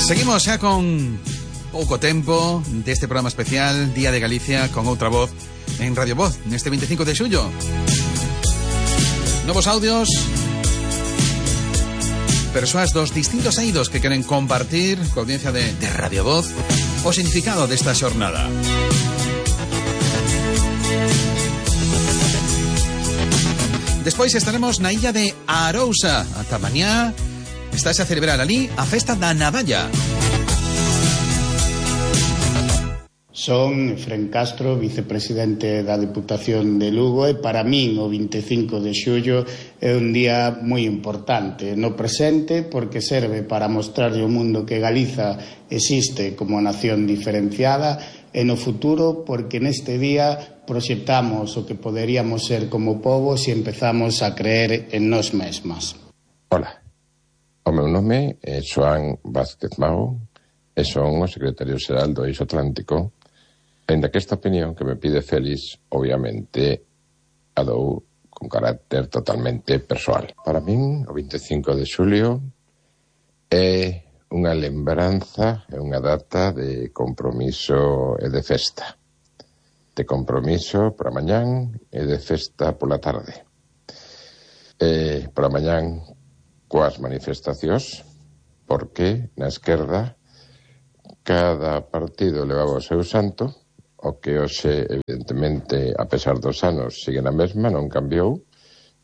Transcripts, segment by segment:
Seguimos xa con pouco tempo deste programa especial Día de Galicia con outra voz en Radio Voz neste 25 de xullo. Novos audios, persoas dos distintos eidos que queren compartir coa audiencia de Radio Voz o significado desta xornada. Despois estaremos na illa de Arousa. Ata mañá estáse a celebrar ali a festa da Nadalla. Son Efrén Castro, vicepresidente da Deputación de Lugo, e para min o 25 de xullo é un día moi importante no presente porque serve para mostrarlle ao mundo que Galiza existe como nación diferenciada, e no futuro porque neste día proxectamos o que poderíamos ser como pobo se empezamos a creer en nós mesmas. Ola, o meu nome é Xoán Vázquez Mago e son o secretario xeral do Eixo Atlántico, ainda que esta opinión que me pide Félix, obviamente, a dou con carácter totalmente persoal. Para min, o 25 de xulio é unha lembranza, é unha data de compromiso e de festa. De compromiso para mañán e de festa pola tarde. Para mañán coas manifestacións, porque na esquerda cada partido levaba o seu santo, o que hoxe, evidentemente, a pesar dos anos, sigue na mesma, non cambiou.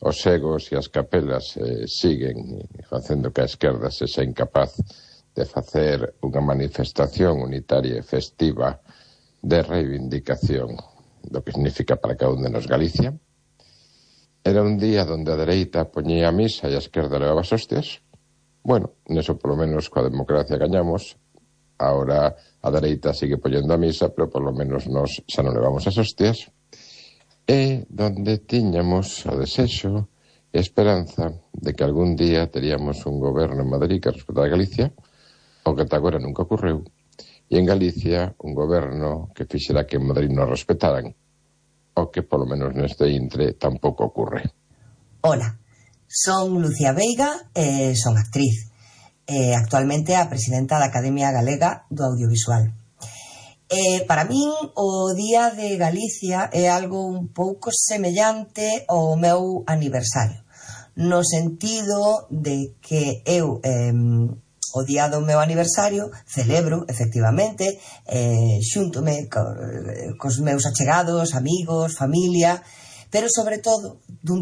Os egos e as capelas siguen facendo que a esquerda sexa incapaz de facer unha manifestación unitaria e festiva de reivindicación do que significa para cada un de nos Galicia. Era un día onde a dereita poñía a misa e a esquerda levaba as hostias. Bueno, neso polo menos coa democracia gañamos. Ahora a dereita sigue poñendo a misa, pero polo menos nos xa non levamos as hostias. E donde tiñamos o desexo e esperanza de que algún día teríamos un goberno en Madrid que respetara a Galicia, o que ata agora nunca ocorreu, e en Galicia un goberno que fixera que en Madrid non respetaran, o que polo menos neste intre tampouco ocurre. Hola, son Lucía Veiga e son actriz. Actualmente a presidenta da Academia Galega do Audiovisual. Para min o Día de Galicia é algo un pouco semellante ao meu aniversario, no sentido de que eu o día do meu aniversario celebro, efectivamente, xúntome cos meus achegados, amigos, familia, pero sobre todo dun